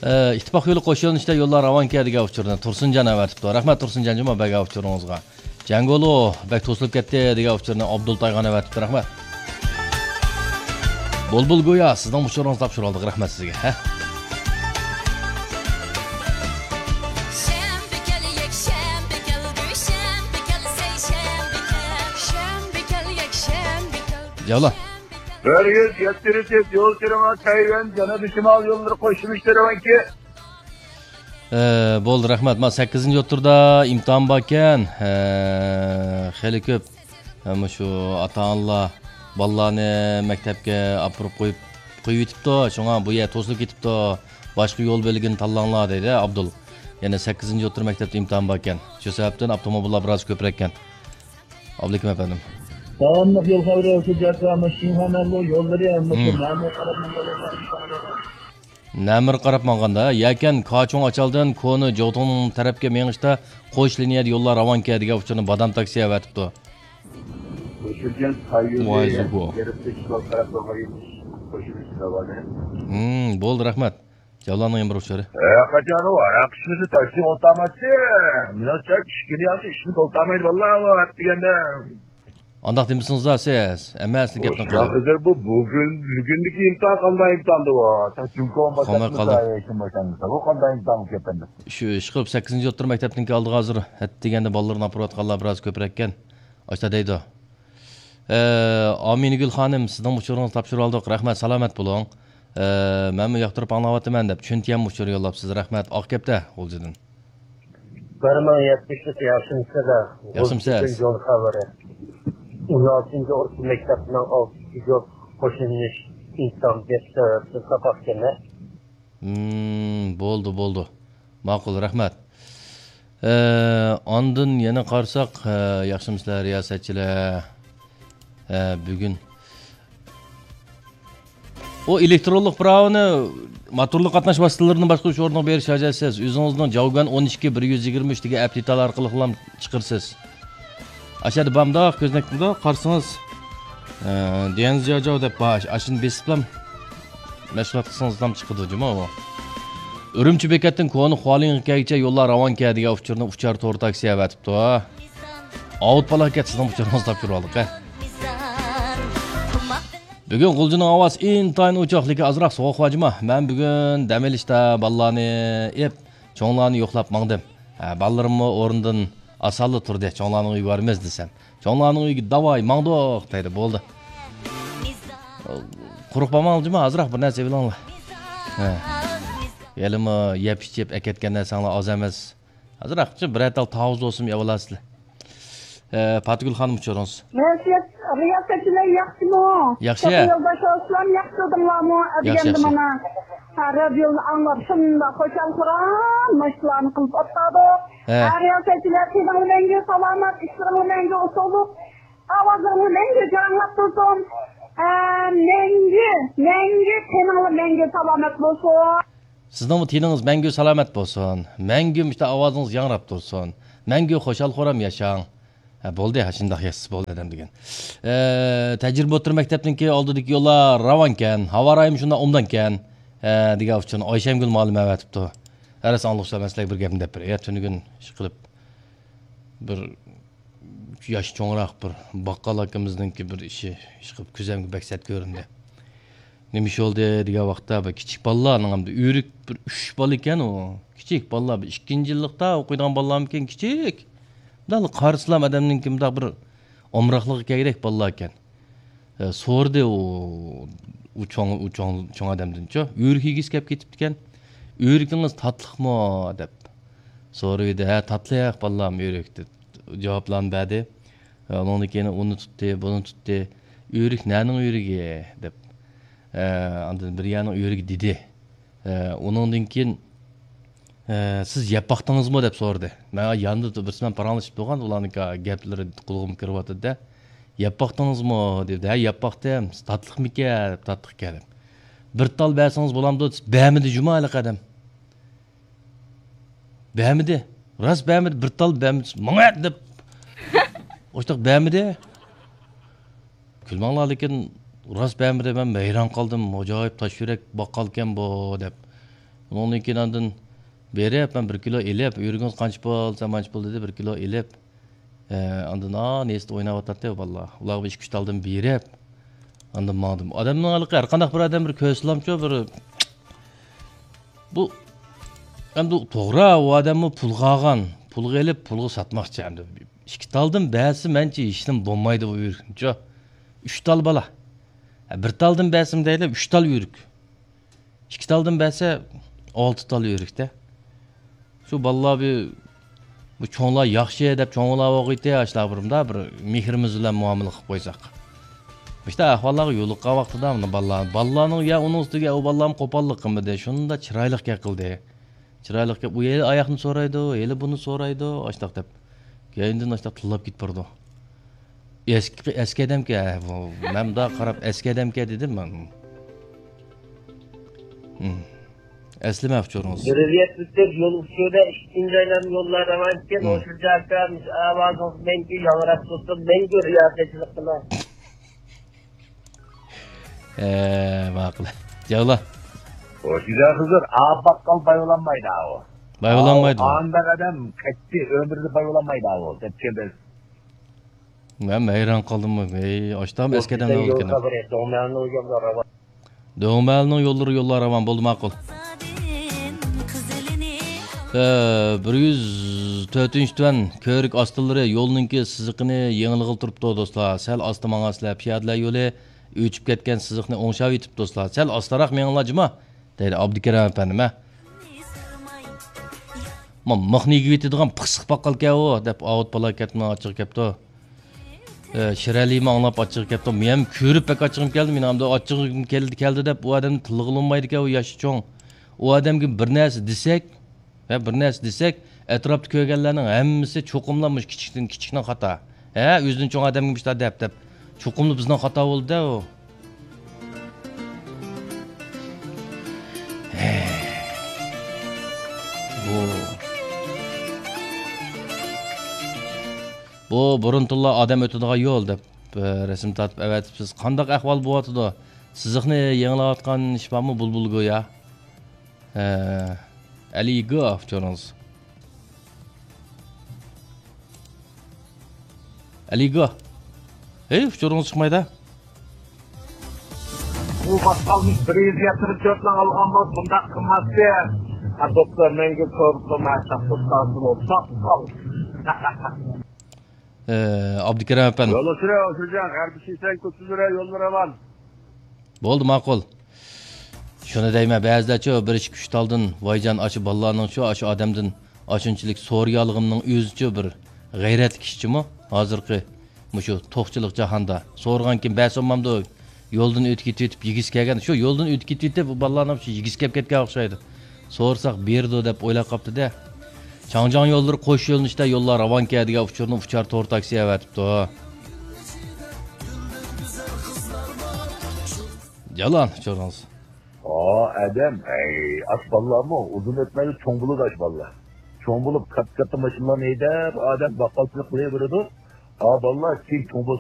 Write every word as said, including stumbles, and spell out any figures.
ئىتتىپاق يولى قوش يۆنىلىشتە يوللار راۋانكەن دېگەن ئۇچۇرنى تۇرسۇنجان ئەۋەتىپتۇ. رەھمەت تۇرسۇنجان جۇما بەرگەن ئۇچۇرىڭىزغا. جەڭگولۇ بەك توسۇلۇپ كەتتى دېگەن ئۇچۇرنى ئابدۇل تايغان ئەۋەتىپتۇ. رەھمەت. بۇلبۇل گويا سىزنىڭ ئۇچۇرىڭىزنى تاپشۇرۇۋالدۇق. رەھمەت سىزگە. ھە. شەنبە كەل، يەكشەنبە كەل، دۈشەنبە كەل، سەيشەنبە كەل. شەنبە كەل، يەكشەنبە كەل، جاۋلا. دۈشەنبە كەل. بىر يۈز يەتتە يول تېرىڭا تەيۋەن، جەنۇبىي شىمال يوللىرى قوشۇلۇش تېرىڭكى. ئە، بولدى، رەھمەت. ما سەككىزىنچى ئوتتۇرىدا ئىمتىھان باركەن. ئە، خېلى كۆپ، ئە، مۇشۇ ئاتا-ئانىلار بالىلارنى مەكتەپكە ئاپىرىپ قويۇپ، قويۇۋېتىپتۇ. شۇڭا بۇ يەر توسۇلۇپ كېتىپتۇ. باشقا يول بۆلىكىنى تاللاڭلار، دەيدۇ ئابدۇل. يەنە سەككىزىنچى ئوتتۇرا مەكتەپتە ئىمتىھان باركەن. شۇ سەۋەبتىن ئاپتوموبىللار بىراز كۆپرەككەن. ئابلىكىم ئەپەندىم. داۋاملىق يول خەۋىرى، ھۆججەتلەر، مۇشۇ شىنخۇا مەنبۇ يوللىرى، مۇشۇ مەمۇر قاراپ ماڭغان يوللار. نەمىر قاراپ ماڭغاندا، يەكەن كاچۇڭ ئاچالدىن كونا جوتۇڭ تەرەپكە مېڭىشتا قوش لىنىيەدە يوللار راۋانكەن دېگەن ئۇچۇرنى بادام تاكسى ئەۋەتىپتۇ. ۋاي زۇبۇ. ھىم، بولدى، رەھمەت. جاۋلاننىڭ يەنە بىر ئۇچۇرى. ھە، قاچان ئۇ ھاراق ئىچمىسە تاكسى ئولتۇرمايتتى. مېنىڭچە ئىچكىنى ياخشى، ئىچمىسە ئولتۇرمايدۇ، ۋاللا، ئۇ ھاراق دېگەندە. ئانداق دېمىسىڭىزلا سىز، ھەممەسىنى گەپنى قىلىڭ. ھازىر بۇ بۈگۈن، بۈگۈنلۈكى ئىمتىھان قانداق ئىمتىھاندى ئۇ؟ تاكسى قوماي قالدى. بۇ قانداق ئىمتىھان بولۇپ كەتكەندى؟ شۇ ئىشقىلىپ سەككىزىنچى ئوتتۇرا مەكتەپنىڭكى ئالدىغا ھازىر ھەتتىگەندە بالىلىرىنى ئاپىرىۋاتقانلار بىراز كۆپرەككەن. ئاشتا دەيدۇ. ئە، ئامىنىگۈل خانىم، سىزنىڭ ئۇچۇرىڭىزنى تاپشۇرۇۋالدۇق. رەھمەت، سالامەت بولۇڭ. ئە، مەنمۇ ياقتۇرۇپ ئاڭلاۋاتىمەن دەپ، چۈنتيەن ئۇچۇر يوللاپسىز. رەھمەت، ئاق كەپتە، غۇلجىدىن. بىر مىڭ يەتمىشلىك ياخشىمۇسىلەر؟ ياخشىمۇسىز؟ غۇلجىدىن يول خەۋىرى. ئون ئالتىنچى ئورتا مەكتەپنىڭ ئالتىنچى يول قوشۇلۇش ئىمتىھان بەش سەۋەبتىن ساپاق كەلمە. ھىم، بولدى، بولدى. ماقۇل، رەھمەت. ئە، ئاندىن يەنە قارىساق، ئە، ياخشىمۇسىلەر رىياسەتچىلەر؟ ئە، بۈگۈن ئۇ ئېلېكترونلۇق پىراۋىنى موتورلۇق قاتناش ۋاسىتىلىرىنى باشقۇرۇش ئورنىغا بېرىش ھاجەتسىز. ئۆزىڭىزنىڭ جاۋگەن ئون ئىككى بىر يۈز يىگىرمە ئۈچ دېگەن ئەپ دېتالى ئارقىلىقلا چىقىرىسىز. ئاشۇ يەردە بار مۇنداق كۆزنەك، مۇنداق قارىسىڭىز، ئە، ديەنزياجاۋ دەپ بار. ئاشۇنى بېسىپلا مەشغۇلات قىلسىڭىزلا چىقىدۇ جۇمۇ ئۇ. ئۈرۈمچى بېكەتتىن كونا خۇالىڭغا كەلگۈچە يوللار راۋانكەن دېگەن ئۇچۇرنى ئۇچار تور تاكسى ئەۋەتىپتۇ. ئاۋۇت بالا كەت، سىزنىڭ ئۇچۇرىڭىزنى تاپشۇرۇۋالدۇق، ھە. بۈگۈن غۇلجىنىڭ ھاۋاسى ئىنتايىن ئوچۇق، لېكىن ئازراق سوغۇق بار جۇما. مەن بۈگۈن دەم ئېلىشتا بالىلارنى ئېلىپ، چوڭلارنى يوقلاپ ماڭدىم. ھە، بالىلىرىممۇ ئورنىدىن ئاسانلا تۇردى، چوڭلارنىڭ ئۆيىگە بارىمىز دېسەم. چوڭلارنىڭ ئۆيىگە داۋاي ماڭدۇق دەيدۇ، بولدى. قۇرۇق بارماڭلار جۇما، ئازراق بىر نەرسە ئېلىڭلار. ھە. ھېلىمۇ يەپ ئىچىپ ئەكەتكەن نەرسەڭلار ئاز ئەمەس. ئازراقچە بىرەر تال تاۋۇز بولسىمۇ ئېلىۋالارسىلەر. ئە، پاتىگۈل خانىم، ئۇچۇرىڭىز. رىياسەتچىلەر ياخشىمۇ؟ ياخشى. يولداش ئارسلان، ياخشى تۇردۇڭلارمۇ؟ ياخشى، ياخشى. مانا، ھە، رادىيونى ئاڭلاپ شۇنداق خۇشال-خۇرام مۇشۇلارنى قىلىپ ئولتۇردۇق. ھە. ھە، رىياسەتچىلەر، تېنىڭلار مەڭگۈ سالامەت، ئىشلىرىڭلار مەڭگۈ ئۇتۇقلۇق، ئاۋازىڭلار مەڭگۈ جاراڭلاپ تۇرسۇن. ھە، مەڭگۈ، مەڭگۈ تېنىڭلار مەڭگۈ سالامەت بولسۇن. سىزنىڭمۇ تېنىڭىز مەڭگۈ سالامەت بولسۇن. مەڭگۈ مۇشۇنداق ئاۋازىڭىز ياڭراپ تۇرسۇن. مەڭگۈ خۇشال-خۇرام ياشاڭ. ھە، بولدى، ھە، شۇنداق ياشىسا بولدى ئادەم دېگەن. ئە، تەجرىبە ئوتتۇرا مەكتەپنىڭكى ئالدىدىكى يوللار راۋانكەن، ھاۋا رايىمۇ شۇنداق ئوبدانكەن، ئە، دېگەن ئۇچۇرنى ئايشەمگۈل مۇئەللىمە ئەۋەتىپتۇ. ھە، راست ئاڭلىغۇچىلار، مەن سىلەرگە بىر گەپنى دەپ بېرەي. يا، تۈنۈگۈن ئىشقىلىپ بىر ياش چوڭراق بىر باققال ئاكىمىزنىڭكى بىر ئىشى، ئىشقىلىپ كۆزۈمگە بەك سەت كۆرۈندى. نېمە ئىش بولدى دېگەن ۋاقىتتا، بىر كىچىك بالىلارنىڭ ھەمدە ئۆرۈك، بىر ئۈچ بالا ئىكەن ئۇ. كىچىك بالىلار، بىر ئىككىنچى يىللىقتا ئوقۇيدىغان بالىلارمىكىن، كىچىك. مۇنداقلا قارىسىلام ئادەمنىڭكى مۇنداق بىر ئامراقلىقى كەيرەك بالىلار ئىكەن. ئە، سورىدى ئۇ، ئۇ چوڭ، ئۇ چوڭ، چوڭ ئادەمدىنچۇ، ئۆرۈك يېگۈسى كەپ كېتىپتىكەن. «ئۆرۈكىڭىز تاتلىقمۇ؟» دەپ سورىۋىدى. «ھە، تاتلىق بالام ئۆرۈك» دەپ جاۋابلارنى بەردى. ئۇنىڭدىن كېيىن ئۇنى تۇتتى، بۇنى تۇتتى. «ئۆرۈك نەنىڭ ئۆرۈكى؟» دەپ، ئە، ئاندىن بىر يەرنىڭ ئۆرۈكى دېدى. ئە، ئۇنىڭدىن كېيىن، ئە، «سىز يەپ باقتىڭىزمۇ؟» دەپ سورىدى. مەن ياندا بىرسى بىلەن پاراڭلىشىپ تۇرغان، ئۇلارنىڭ گەپلىرى قۇلىقىمغا كىرىۋاتىدۇ-دە. «يەپ باقتىڭىزمۇ؟» دېدى. «ھە، يەپ باقتىم. تاتلىقمىكەن؟» دەپ، «تاتلىقكەن» دەپ. «بىر تال بەرسىڭىز بولامدۇ؟» دېسە، بەرمىدى جۇما ھېلىقى ئادەم. بەرمىدى. راست بەرمىدى. «بىر تال بەرمىدى. ماڭا ئەت!» دەپ. ئوشتاق بەرمىدى. كۈلمەڭلار، لېكىن راست بەرمىدى. مەن ھەيران قالدىم. «ئاجايىپ تاش يۈرەك باققالكەن بۇ» دەپ. ئۇنىڭدىن كېيىن ئاندىن بېرىپ، مەن بىر كىلو ئېلىپ، ئۆرۈكىڭىز قانچە پۇل دېسە، مانچە پۇل دېدى، بىر كىلو ئېلىپ، ئە، ئاندىن، ئا، نېسىتتا ئويناۋاتاتتى بالىلار. ئۇلارغا بىر ئىككى ئۈچ تالدىن بېرىپ، ئاندىن ماڭدىم. ئادەمنىڭ ھېلىقى ھەر قانداق بىر ئادەم بىر كۆرسىلامچۇ، بىر، بۇ، ئەمدى توغرا، ئۇ ئادەممۇ پۇلغا ئالغان، پۇلغا ئېلىپ، پۇلغا ساتماقچى. ئەمدى ئىككى تالدىن بەرسە، مەنچە ھېچنېمە بولمايدۇ بۇ ئۆرۈكنىچۇ. ئۈچ تال بالا. ھە، بىر تالدىن بەرسىمۇ دەيلى، ئۈچ تال ئۆرۈك. ئىككى تالدىن بەرسە، ئالتە تال ئۆرۈكتە. شۇ بالىلار بىر، بۇ چوڭلار ياخشى دەپ، چوڭلار بولغىيتى، ئاشۇلار بىر مۇنداق بىر مېھرىمىز بىلەن مۇئامىلە قىلىپ قويساق. مۇشۇنداق ئەھۋاللارغا يولۇققان ۋاقتىدا مۇنۇ بالىلار، بالىلارنىڭ يا ئۇنىڭ ئۈستىگە ئۇ بالىلارمۇ قوپاللىق قىلمىدى. شۇنداق چىرايلىق گەپ قىلدى. چىرايلىق گەپ، ئۇ ھېلى ئاياقنى سورايدۇ، ھېلى بۇنى سورايدۇ، ئاشۇنداق دەپ. كەينىدىن ئاشۇنداق تىللاپ كېتىپ بارىدۇ. ئەسكى، ئەسكى ئادەمكەن، ھە، بۇ، مەن مۇنداق قاراپ ئەسكى ئادەمكەن دېدىم مەن. ھىم. ئەسلىمە ئۇچۇرىڭىز. زۆرۈرىيەت بىتىپ، يول ئۇچۇرىدا ئىككىنچى ئايلانما يوللار راۋان ئىكەن، ھىم. ھوشۇرجان ئاكا، مۇشۇ ئاۋازىڭىز مەڭگۈ ياڭراپ تۇرسۇن، مەڭگۈ رىياسەتچىلىك قىلىڭ. ئە، ماقۇل. جاۋلا. ھوشۇرجان خىزىر، ئا باققال باي بولالمايدۇ ئاۋۇ. باي بولالمايدۇ. ئانداق ئادەم قەتئىي ئۆمرىدە باي بولالمايدۇ ئاۋۇ، دەپ كەلدى. مەن ھەيران قالدىم. ھەي، ئاشتام ئەسكى ئادەمنى ئالىدىكەن. دۆڭمەلنىڭ يوللىرى يوللار راۋان. بولدى، ماقۇل. ئە، بىر يۈز تۆتىنچى تۆۋەن كۆۋرۈك ئاستىلىرى يولنىڭكى سىزىقىنى يېڭىلىغىلى تۇرۇپتۇ، دوستلار. سەل ئاستا ماڭارسىلەر، پىيادىلەر يولى ئۆچۈپ كەتكەن سىزىقنى ئوڭشاۋېتىپ، دوستلار. سەل ئاستىراق مېڭىڭلار جۇما، دەيدۇ ئابدۇكېرىم ئەپەندىم، ھە. ما، مىخنى يېگۈۋېتىدىغان پىخسىق باققالكەن ئۇ، دەپ ئاۋۇت بالا كەتمە ئاچچىقى كەپتۇ. ئە، شىرئەلىمۇ ئاڭلاپ ئاچچىقى كەپتۇ. مېنىڭ كۆرۈپ بەك ئاچچىقىم كەلدى. مېنىڭ ئەمدى ئاچچىقىم كەلدى، كەلدى دەپ ئۇ ئادەمنى تىللىغىلى بولمايدىكەن، ئۇ ياشى چوڭ. ئۇ ئادەمگە بىر نەرسە دېسەك، ھە، بىر نەرسە دېسەك، ئەتراپتا كۆرگەنلەرنىڭ ھەممىسى چوقۇملا مۇشۇ كىچىكتىن، كىچىكنىڭ خاتا. ھە، ئۆزىدىن چوڭ ئادەمگە مۇشۇنداق دەپ، دەپ. چوقۇملا بىزنىڭ خاتا بولدى-دە ئۇ. بۇ، بۇ بۇرۇنتىنلا ئادەم ئۆتىدىغان يول دەپ، ئە، رەسىم تارتىپ ئەۋەتىپسىز. قانداق ئەھۋال بولۇۋاتىدۇ؟ سىزىقنى يېڭىلاۋاتقان ئىش بارمۇ، بۇلبۇل گويا؟ ئە، ئەلىگو ئۇچۇرىڭىز. ئەلىگو. ھەي، ئۇچۇرىڭىز چىقمايدۇ. بۇ باشقالمىش بىر يۈز يەتمىش تۆتنى ئالغان بولسا بۇنداق قىلماستى. ھە، دوستلار، مەڭگۈ كۆرۈپ تۇرماي، ساقلاپ قالسۇن، ساقلاپ. ئە، ئابدۇكېرىم ئەپەندى. يول ئۇچۇرى، ئۇچۇرجان، غەربىي شىسەن كوچىلىرى يوللىرى راۋان. بولدى، ماقۇل. شۇنى دەيمەن، بەزىلەرچۇ بىر ئىككى ئۈچ تالدىن، ۋايجان، ئاشۇ بالىلارنىڭچۇ، ئاشۇ ئادەمدىن ئاشۇنچىلىك سورىيالىغىنىنىڭ ئۆزىچۇ بىر غەيرەتلىك ئىشچىمۇ؟ ھازىرقى مۇشۇ توقچىلىق جاھاندا سورىغانكىن بەرسەممامدۇ؟ يولدىن ئۆتۈپ كېتىۋېتىپ يېگۈسى كەلگەن. شۇ يولدىن ئۆتۈپ كېتىۋېتىپ، بۇ بالىلارنىڭ شۇ يېگۈسى كەپ كەتكەن ئوخشايدۇ. سورىساق بېرىدۇ دەپ ئويلاپ قاپتۇ-دە. چاڭجياڭ يوللىرى قوش يۆنىلىشتە يوللار راۋانكەن دېگەن ئۇچۇرنى ئۇچار تور تاكسى ئەۋەتىپتۇ. جالان ئۇچۇرىڭىز. ئا، ئادەم، ئەي، ئاش بالىلارمۇ ئۇزۇن ئۆتمەيلا چوڭ بولىدۇ، ئاش بالىلار. چوڭ بولۇپ، كاتتا-كاتتا ماشىنىلارنى ھەيدەپ، ئادەم باققالچىلىق قىلىۋېرىدۇ. ئا، بالىلار كېيىن چوڭ بولسا